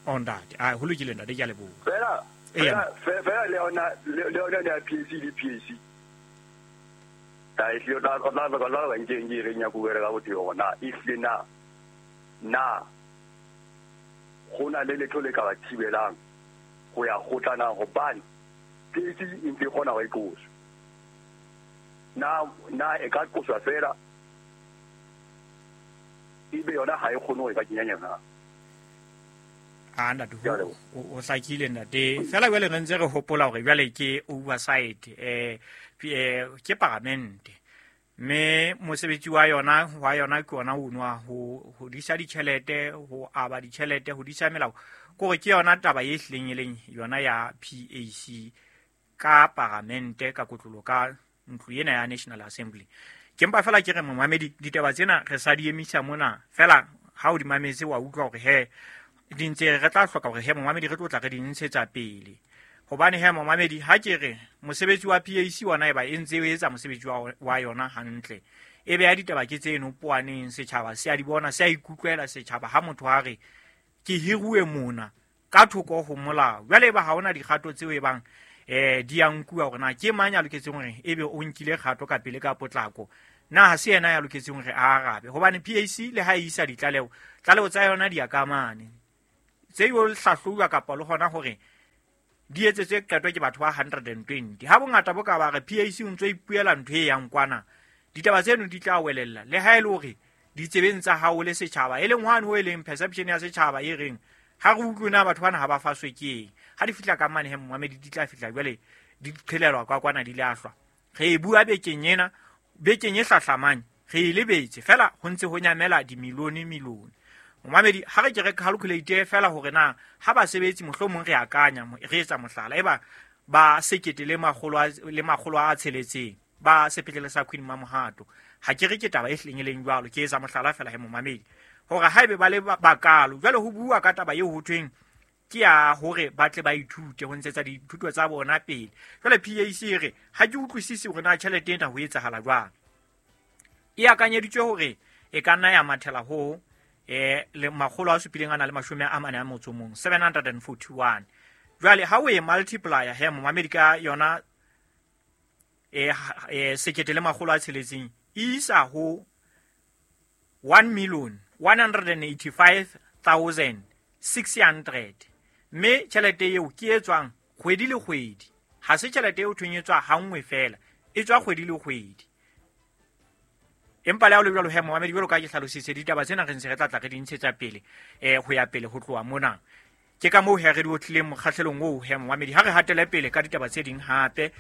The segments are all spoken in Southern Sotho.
Oh ntate, a ho lokile ntate, ke a leboha. Fela fela le yona le yona ya PAC le PAC. Ta e hlile tla tla tla tla ba nke nke re nya go ka botho yona e hlile na na go na le letho le ka ba thibelang go ya kgotla na hobane PAC e ntse e kgona go e qosa. Na na e ka qoswa fela ebe yona ha e kgone go e ka kenya nyana. A ntate, o hlakile ntate. Fela jwale re ntse re hopola hore jwale ke oversight, ke paramente, mme mosebetsi wa yona ke ona ono wa ho disa ditjhelete, ho aba ditjhelete, ho disa melao. Kore ke yona taba e hlileng e leng yona ya PAC ka paramente, ka kotlolo, ka ntlo ena ya National Assembly. Ke mpa fela ke re momamedi, ditaba tsena re sa di emisa mona fela. Ha o di mametse wa utlwa hore he di ntse re tla hloka hore he momamedi re tlo tla re di ntshetsa pele. Hobane he momamedi, ha ke re mosebetsi wa PAC ona eba e ntse e etsa mosebetsi wa yona hantle, e beha ditaba ke tseno poaneng, setjhaba se a di bona, se a ikutlwela setjhaba. Ha motho a re ke hiruwe mona ka thoko ho molao, jwale eba ha hona dikgato tseo e bang di a nkuwa hore na ke mang ya loketseng hore ebe o nkile kgato ka pele ka potlako, na ha se yena ya loketseng hore a arabe. Hobane PAC le ha e isa ditlaleho, tlaleho tsa yona di ya ka mane, tse yo hlahlobuwa kapa le hona hore di etsetswe qeto ke batho ba 120. Ha bongata bo ka ba re PAC o ntso ipuela ntho e yang kwana, ditaba tseno di tla welella. Le ha e le hore ditsebeng tsa hao le setjhaba, e leng hwane ho e leng perception ya setjhaba e reng ha re utlwe na batho bana ha ba faswe ke eng. Ha di fihla ka mane he momamedi, di tla fihla jwale di qhelelwa kwa kwana di lahlwa. Re e bua bekeng ena, bekeng e hlahlamang re e lebetse fela, ho ntse ho nyamela dimilione milione. Momamedi, ha re ke re calculate fela hore na ha basebetsi mohlomong re akanya, re etsa mohlala, eba ba sekete le makgolo a tsheletseng ba sepetlele sa Queen Mamohato. Ha ke re ke taba e hlileng e leng jwalo, ke etsa mohlala fela he momamedi, hore haebe ba le bakalo jwale ho bua ka taba eo ho thweng ke ya hore ba tle ba ithute ho ntshetsa dithuto tsa bona pele. Jwale PAC e re ha ke utlwisise hore na tjhelete ena ho etsahala jwang. E akanyeditswe hore e ka nna ya mathela ho le makgolo a supileng a na le mashome a mane a motso mong, 741. Jwale ha o e multiplier he momamedi ka yona sekete le makgolo a tsheletseng, e isa ho 1,185,600. Mme tjhelete eo ke e tswang kgwedi le kgwedi, ha se tjhelete eo thweng e tswa ha nngwe fela, e tswa kgwedi le kgwedi. Empa le ha ho le jwalo he momamedi, jwalo ka ke hlalositse, ditaba tsena re ntse re tla tla re di ntshetsa pele ho ya pele ho tloha mona. Ke ka moo he re di otlileng mokgahlelong oo he momamedi. Ha re hatele pele ka ditaba tse ding hape,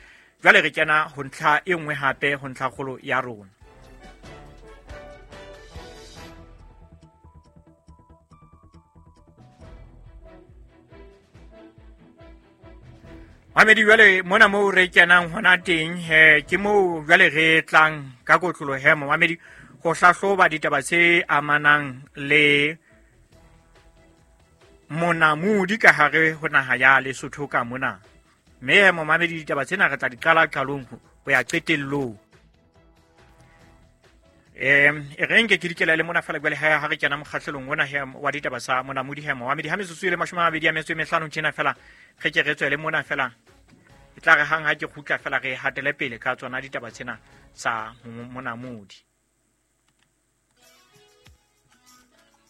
jwale re kena ho ntlha e nngwe hape, ho ntlha kgolo ya rona. Mamedi, jwale mona moo re kenang hona teng he ke moo jwale re tlang ka kotlolo he momamedi ho hlahloba ditaba tse amanang le monamodi ka hare ho naha ya Lesotho ka mona. Mme he momamedi, ditaba tsena re tla di qala qalong ho ya qetellong. E re nke ke dikela le mona fela jwale ha re kena mokgahlelong ona he wa ditaba tsa monamodi he momamedi. Ha metsotso e le 25 tjena fela re ke re tswele mona fela, e tla re hang ha ke kgutla fela re hatele pele ka tsona ditaba tsena tsa monamodi.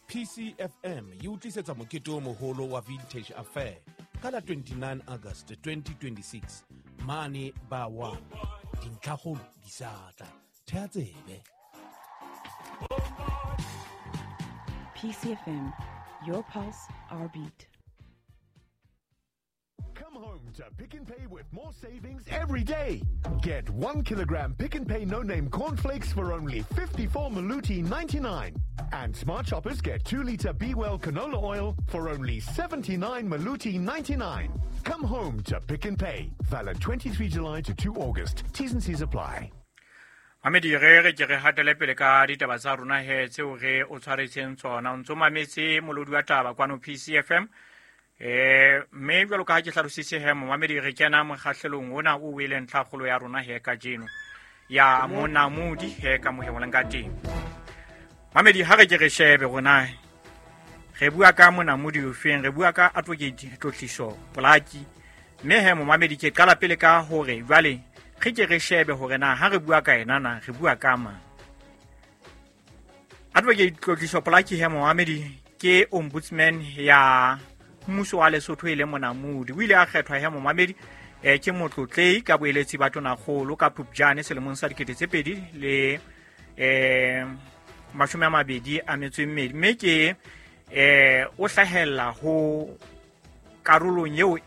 PCFM e utlisetsa mokete o moholo wa Vintage Affair ka la 29 August 2026 mane ba 1. Dintlhakgolo di sa tla. Thea tsebe. PCFM, your pulse, our beat. Come home to Pick n Pay with more savings every day. Get 1 kilogram Pick n Pay no-name cornflakes for only 54 Maluti 99. And smart shoppers get 2-liter Be Well canola oil for only 79 Maluti 99. Come home to Pick n Pay. Valid 23 July to 2 August. T's and C's apply. Mamedi, re ke re hatele pele ka ditaba tsa rona he tseo re o tshwaretseng tsona. O ntso mametse molodi wa taba kwano PCFM. Mme jwalo ka ha ke hlalositse he momamedi, re kena mokgahlelong ona o weleng ntlhakgolo ya rona he kajeno ya monamodi he ka mohemolang ka teng. Mamedi, ha re ke re shebe rona Re bua ka monamodi ofeng, re bua ka Advocate Tlotliso Polaki. Mme he momamedi, ke qala pele ka hore jwale re ke re shebe hore na ha re bua ka ena na re bua ka mang. Advocate Tlotliso Polaki he momamedi ke ombudsman ya mmuso wa Lesotho e le monamodi. O ile a kgethwa he momamedi ke motlotlei ka boeletsi ba tonakgolo ka Phupjane selemong sa 2022, mme ke o hlahella ho karolong eo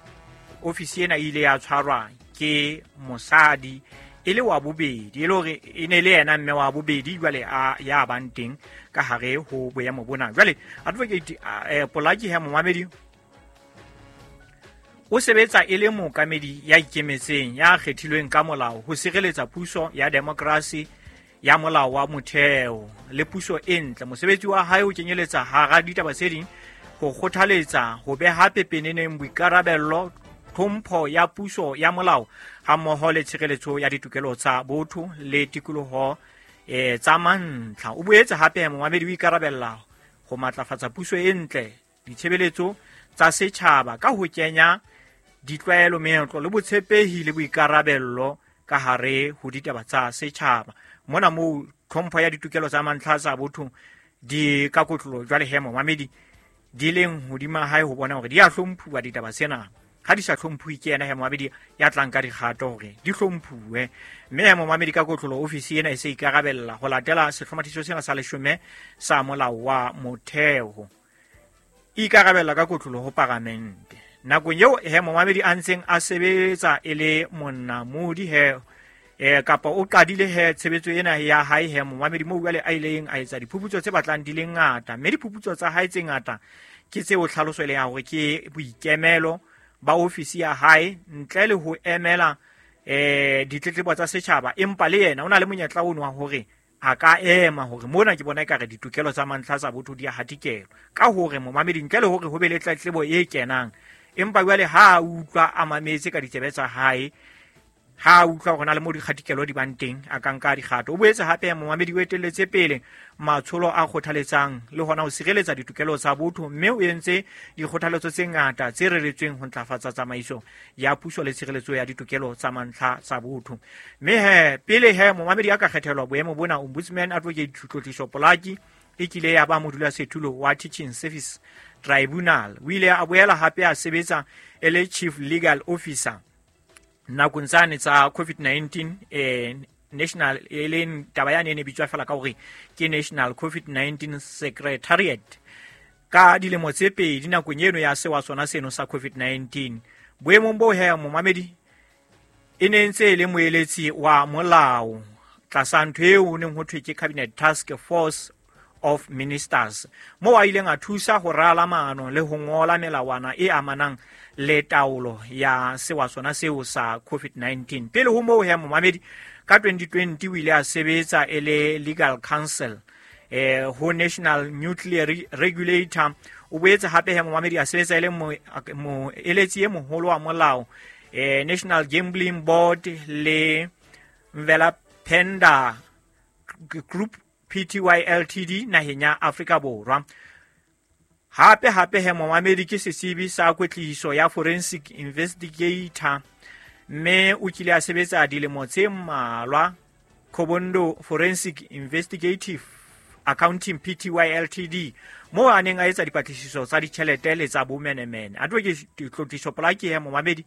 ofisi ena e ile ya tshwarwa ke mosadi e le wa bobedi, e le hore e ne le yena mme wa bobedi jwale a ya bang teng ka hare ho boemo bona. Jwale Advocate Polaki he momamedi o sebetsa e le mookamedi ya ikemetseng ya kgethilweng ka molao ho sireletsa puso ya demokrasi ya molao wa motheo le puso e ntle. Mosebetsi wa hae o kenyeletsa hara ditaba tse ding ho kgothaletsa ho beha pepeneneng boikarabello, tlhompho ya puso ya molao hammoho le tshireletso ya ditokelo tsa botho le tikoloho tsa mantlha. O boetse hape momamedi o ikarabella ho matlafatsa puso e ntle, ditshebeletso tsa setjhaba ka ho kenya ditlwaelo, meetlo le botshepehi le boikarabello ka hare ho ditaba tsa setjhaba. Mona moo tlhompho ya ditokelo tsa mantlha tsa botho di ka kotlolo jwale he momamedi di leng hodima hae ho bona hore di a hlomphuwa ditaba tsena. Ha di sa hlomphuwe ke yena he momamedi ya tlang ka dikgato hore di hlomphuwe. Mme he momamedi ka kotlolo ofisi ena e se ikarabella ho latela sehlomathiso sena sa 10 sa molao wa motheo. E ikarabella ka kotlolo ho paramente. Nakong eo he momamedi a ntseng a sebetsa e le monamodi he kapa o qadile he tshebetso ena ya hae he momamedi moo jwale a ileng a etsa diphuputso tse batlang di le ngata, mme diphuputso tsa hae tse ngata ke tseo tlhaloso e leng ya hore ke boikemelo ba ofisi ya hae ntle le ho emela ditletlebo tsa setjhaba, empa le yena o na le monyetla ono wa hore a ka ema hore mona ke bona ekare ditokelo tsa mantlha tsa botho di a hatikelwa ka hore momamedi ntle le hore ho be le tletlebo e kenang, empa jwale ha a utlwa a mametse ka ditsebe tsa hae, ha a utlwa hore na le mo dikgatikelo di bang teng a ka nka dikgato. O boetse hape momamedi o etelletse pele matsholo a kgothaletsang le hona ho sireletsa ditokelo tsa botho, mme o entse dikgothaletso tse ngata tse reretsweng ho ntlafatsa tsamaiso ya puso le tshireletso ya ditokelo tsa mantlha tsa botho. Mme he pele he momamedi a ka kgethelwa boemo bona, Ombudsman Advocate Tlotliso Polaki e kile ya ba modulasetulo wa Teaching Service Tribunal. O ile a boela hape a sebetsa e le Chief Legal Officer nakong tsane tsa COVID-19 national, e leng taba yane e ne bitswa fela ka hore ke National COVID-19 Secretariat ka dilemo tse pedi nakong eno ya sewa sona seno sa COVID-19. Boemong bo he momamedi e ne ntse e le moeletsi wa molao tlasa ntho eo ho neng ho thwe ke Cabinet Task Force of Ministers, moo a ileng a thusa ho rala maano le ho ngola melawana e amanang le taolo ya sewa sona seo sa COVID-19. Pele ho moo he momamedi ka 2020 o ile a sebetsa e le legal counsel ho National Nuclear Regulator. O boetse hape he momamedi a sebetsa e le moeletsi e moholo wa molao National Gambling Board le Mvelapenda Group Pty Ltd naheng ya Afrika Borwa. Hape hape he momamedi ke setsebi sa kwetliso ya forensic investigator, mme o kile a sebetsa dilemo tse mmalwa Kobondo Forensic Investigative Accounting Pty Ltd moo a neng a etsa dipatlisiso tsa ditjhelete le tsa bomenemene. Advocate Tlotliso Polaki he momamedi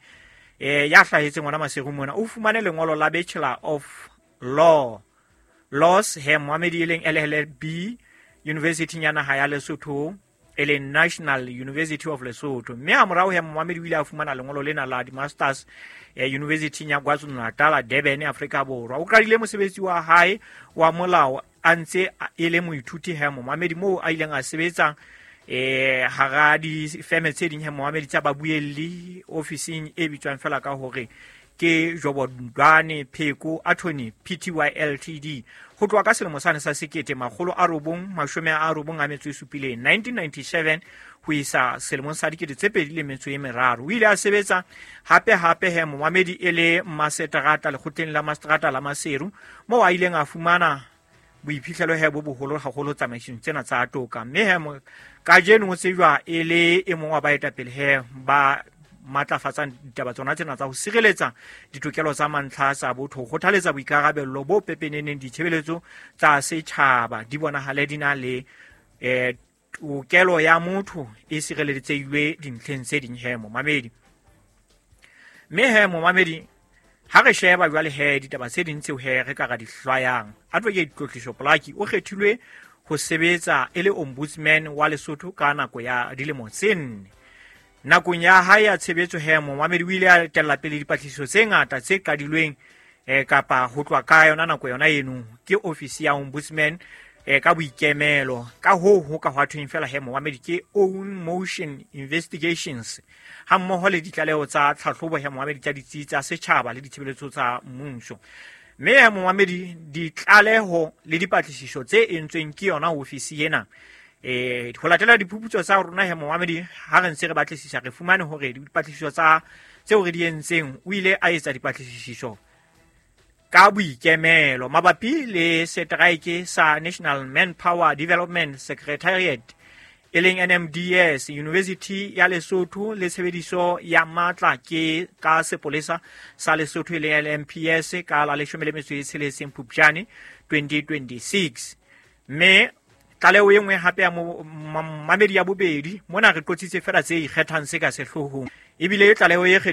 ya hlahetseng hona Maseru mona o fumane lengolo la Bachelor of Laws he momamedi e leng LLB University ya naha ya Lesotho e leng National University of Lesotho, mme ha morao he momamedi o ile a fumana lengolo lena la di-masters University ya KwaZulu-Natal Durban Afrika Borwa. O qadile mosebetsi wa hae wa molao a ntse e le moithuti he momamedi moo a ileng a sebetsa hara difeme tse ding he momamedi tsa babuelli ofising e bitswang fela ka hore ke Jobodwane Pheko Attorney Pty Ltd ho tloha ka selemo sane sa 1997 1997 ho isa selemong sa 2003. O ile a sebetsa hape hape he momamedi e le maseterata lekgotleng la maseterata la Maseru moo a ileng a fumana boiphihlelo he bo boholo haholo tsamaisong tsena tsa toka. Mme he Kajeno o tsejwa e le e mong wa baetapele he ba matlafatsang ditaba tsona tsena tsa ho sireletsa ditokelo tsa mantlha tsa botho, ho kgothaletsa boikarabello bo pepeneneng, ditshebeletso tsa setjhaba di bonahale di na le tokelo ya motho e sireleditsehilwe dintlheng tse ding he momamedi. Mme he momamedi, ha re sheba jwale he ditaba tse ding tseo he re ka ra di hlwayang, Advocate Tlotliso Polaki o kgethilwe ho sebetsa e le ombudsman wa Lesotho ka nako ya dilemo tse 4. Nakong ya hae ya tshebetso he momamedi, o ile a etella pele dipatlisiso tse ngata tse qadilweng kapa ho tloha ka yona nako yona eno ke ofisi ya ombudsman ka boikemelo. Ka hoo ho ka hwa thweng fela he momamedi ke own motion investigations, ha mmoho le ditlaleho tsa tlhahlobo he momamedi tsa ditsi tsa setjhaba le ditshebeletso tsa mmuso. Mme he momamedi, ditlaleho le dipatlisiso tse entsweng ke yona ofisi ena, ho latela diphuputso tsa rona he momamedi, ha re ntse re batlisisa re fumane hore dipatlisiso tsa tseo re di entseng, o ile a etsa dipatlisiso ka boikemelo mabapi le setraeke sa National Manpower Development Secretariat e leng NMDS, University ya Lesotho le tshebediso ya matla ke ka sepolesa sa Lesotho e leng LMPS ka la 16 Phupjane 2026. Mme tlaleho e nngwe hape ya mamedi ya bobedi mona, re qotsitse fela tse ikgethang se ka sehloohong, ebile tlaleho e kgethehileng.